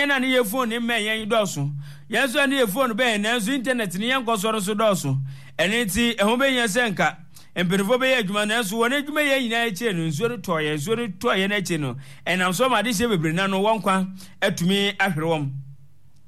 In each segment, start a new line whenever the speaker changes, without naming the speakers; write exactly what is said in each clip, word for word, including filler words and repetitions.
yɛn a ne yɛ phone ne mmɛn yɛn dɔɔso. Yɛn nso a ne yɛ phone bɛn yɛn nanso internet ne yɛn nkɔsoɔ no so dɔɔso. Ɛno nti ɛho bɛhia sɛ nka mpanimfoɔ bɛyɛ adwuma, nanso wɔn adwuma yɛ nyinaa akyire no, nsuo no tɔɔ yɛn. Nsuo no tɔɔ yɛn akyire no, ɛnam so ma adehyeɛ bebree na no wɔn nkwa atumi ahwere wɔn.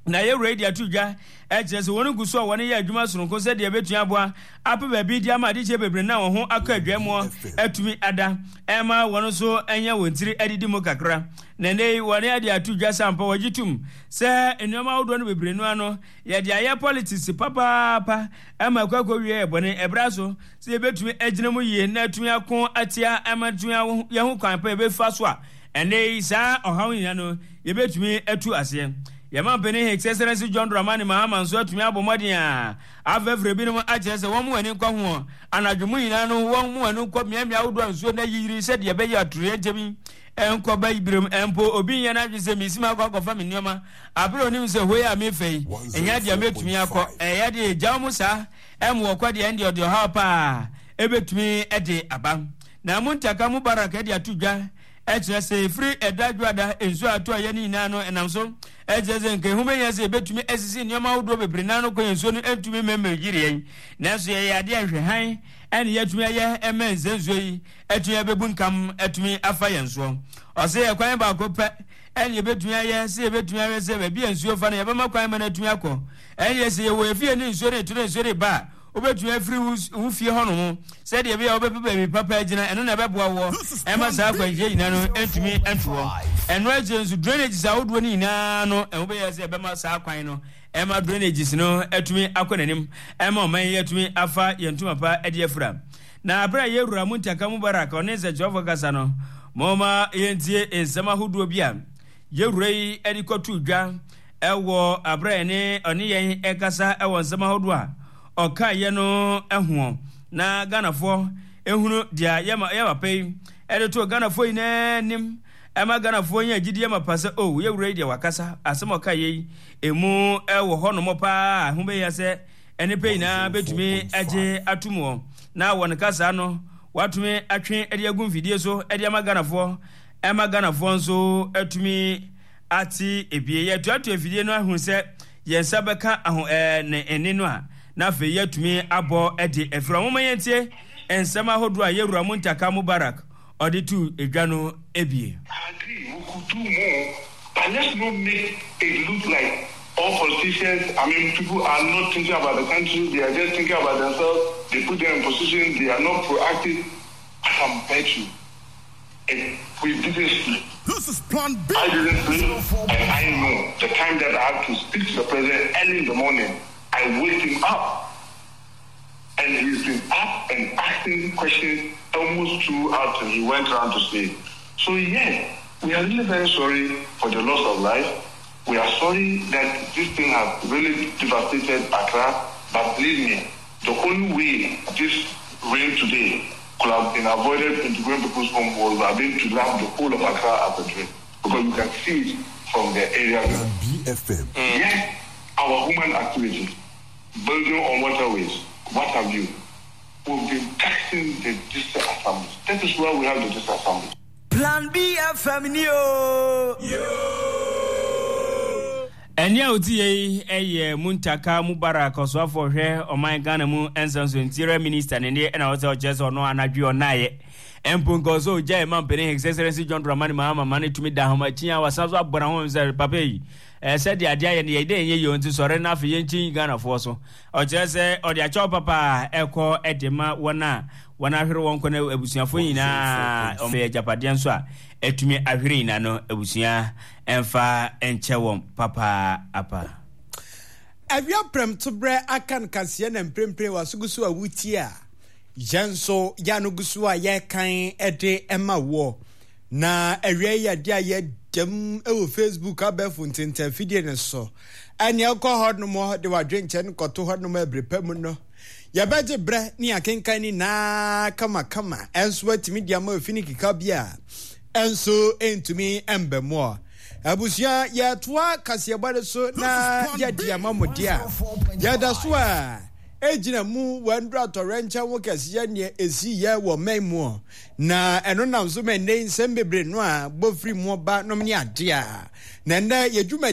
Na yɛwura yi de ato dwa ɛkyerɛ sɛ wɔn gu so a wɔn yɛ adwuma soronko sɛdeɛ ɛbɛtumi aboa apɛ baabi de ama adehyeɛ bebree na wɔn ho akɔ adwamuɔ atumi ada ɛma wɔn nso anya wɔn tiri adidi mu kakra. Na nnɛ yi wɔn ade ato dwa sɛ ampa wɔgye tom sɛ nneɛma ahodoɔ no bebree no ano yɛde ayɛ politics papaapa ɛma akɔ akɔwie yɛ bɔne. Ɛberɛ so sɛ yɛbɛtumi agyina mu yie na atumi ako atia ɛma atumi yɛho kwan pa yɛbɛfa so a ɛnɛ yi saa ɔhaw nyinaa no yɛbɛtumi atu aseɛ. Yɛma mpanin His Excellency John Dramani Mahama nso atumi abɔ mmɔden a afɛfrɛ binom akyerɛ sɛ wɔn mu ani nkɔ ho anadwo mu nyinaa no, wɔn mu ani nkɔ mmeammea ahodoɔ a nsuo no ayiyiri sɛdeɛ ɛbɛyɛ atoyerɛnkyɛm yi nkɔ ba birom. Mpo obi nyɛ n'adwene sɛ mesi mu akɔ akɔfa me nneɛma abere onim sɛ hɔ yi a mefa yi ɛnyɛ adeɛ a mɛtumi akɔ. Ɛyɛ adeɛ gyaw mu saa ɛmu wɔkɔ deɛ, ɛndeɛ ɔde ɔhaw paa ɛbɛtumi de aba. Na Muntaka Mubarak de ato dwa ɛkyerɛ sɛ ɛfiri ɛda dwoada nsuo a ato a yɛ no nyinaa no ɛnam so ɛkyerɛ sɛ nka ɛho bɛhia sɛ yɛbɛtumi asisi nneɛma ahodoɔ bebree naa no kɔ yɛn nsuo no ɛntumi mmɛmmɛ yiri yɛn, nanso yɛyɛ adeɛ nhwɛ hann ɛne yɛatumi ayɛ ɛmɛ nsɛ nsuo yi atumi abɛbu nkam atumi afa yɛn soɔ. Ɔsɛ yɛ kwan baako pɛ ɛne yɛbɛtumi ayɛ sɛ yɛbɛtumi ahwɛ sɛ baabi a nsuo fa no yɛbɛma kwan ma no atumi akɔ. Ɛne sɛ yɛwɔ efie ne nsuo ne to ne nsuo de ba a, wobɛtumi afiri wo fie hɔnom sɛdeɛ ɛbɛyɛ a wobɛpɛ baabi papa agyina. Ɛno na ɛbɛboa woɔ ɛma saa akwanhyia nyinaa no ntumi nto hɔ. Ɛno akyire nso, drainages ahodoɔ no nyinaa no, ɛho bɛyɛ sɛ ɛbɛma saa kwan no ɛma drainages no atumi akɔ n'anim ɛma ɔman yi atumi afa yɛn ntoma pa de afira. Na abere a yɛwura Muntaka Mubarak ɔne nsɛnkyerɛwfoɔ kasa no, moma yɛntie nsɛm ahodoɔ bi a yɛwura yi de kɔto dwa ɛwɔ abere a ɛne ɔne yɛn ɛkasa ɛwɔ nsɛm ahodoɔ a ɔka yɛ no ɛhoɔ na Ghanafoɔ ehunu deɛ yɛ yɛ papa yi ɛde to Ghanafoɔ nyinaa anim ɛma Ghanafoɔ nyɛ agyidie ma pa sɛ o yɛwura yi deɛ wakasa asɛm a ɔka yɛ yi emu ɛwɔ hɔnom paa. Ho bɛyɛ sɛ nnipa nyinaa bɛtumi agye atom wɔ na wɔn kasa no watumi atwe de agu mfidie so de ama Ghanafoɔ ɛma Ghanafoɔ nso atumi ate ebie. Yɛtoatoa afidie no ahu sɛ yɛn nsa bɛka aho ɛɛ ne nne no a, na afei yɛatumi abɔ de afiri. Ɔmoma yɛntie nsɛm ahodoɔ a yɛwura Muntaka Mubarak ɔde tu edwa no ebie.
I agree, we could do more, but let's not make it look like all politicians, I mean, people are not thinking about the country, they are just thinking about themselves, they put them in position, they are not proactive. I can bet you, if we didn't sleep,
This is Plan B.
I didn't sleep, and I know the time that I have to speak to the president early in the morning, I wake him up. And he's been up and asking questions almost two hours till he went round to sleep. So yes, we are really very sorry for the loss of life. We are sorry that this thing has really devastated Accra. But believe me, the only way this rain today could have been avoided into going people's home was have been to lap the whole of Accra as a drain. Because you can see it from the area.
Plan B F M.
Yes, our human activity, building on waterways, what have you, we've been taxing the district assemblies. That is why we have the district assemblies.
Plan B F M ni o.
Ɛne a oti yɛ ɛyɛ Muntaka Mubarak ɔsoafo hwɛ ɔman Ghana mu nsɛnso Interior Minister ne ne ɛna ɔsɛ ɔkyerɛ sɛ ɔno anadwo ɔnaayɛ mpo nka ɔsɛ ogya ɛma mpanin His Excellency John Dramani Mahama ma ne tumi da ahomakyi a wasan so abɔ n'ahom sɛ papa yi ɛsɛ de adeɛ ayɛ no yɛ dɛ ɛnyɛ yie nti sɔre na afei yɛnkyi Ghanafoɔ so. Ɔkyerɛ sɛ ɔde akyɛw papa a ɛkɔ ɛde ma wɔn a wɔn ahwere wɔn kɔ no abusuafoɔ nyinaa, ɔmo yɛ agyapadeɛ nso a ɛtumi ahwere nyinaa no abusua ɛmfa nkyɛ wɔn papa apa.
Awia prɛmtoberɛ aka no kaseɛ na mprempren waso so a wotie a yɛn nso yɛano gu so a yɛkan de ma woɔ. Na awia yi ade a yɛdam wɔ Facebook abɛɛfo ntentafidie no so. Ɛne ɛkɔ hɔ nom de wadwenkyɛ no kɔto hɔ nom ɛbere pa mu no. Yɛbɛgye berɛ ne akenkan ne naa kamakama ɛnso atumi de ama efi ne keka bi a ɛnso ntumi mba mu a. Abusua yɛtoa kaseɛbɔ no so na yɛde ama mo deɛ a yɛda so a egyina mu wɔndura atɔrɛnkyɛn ho kɛseɛ neɛ esi yɛ wɔ mɛn mu na ɛno nam so ma nnɛ nsɛm bebree no a bɔfiri mu ba nom ne adeɛ a na nnɛ yɛdwuma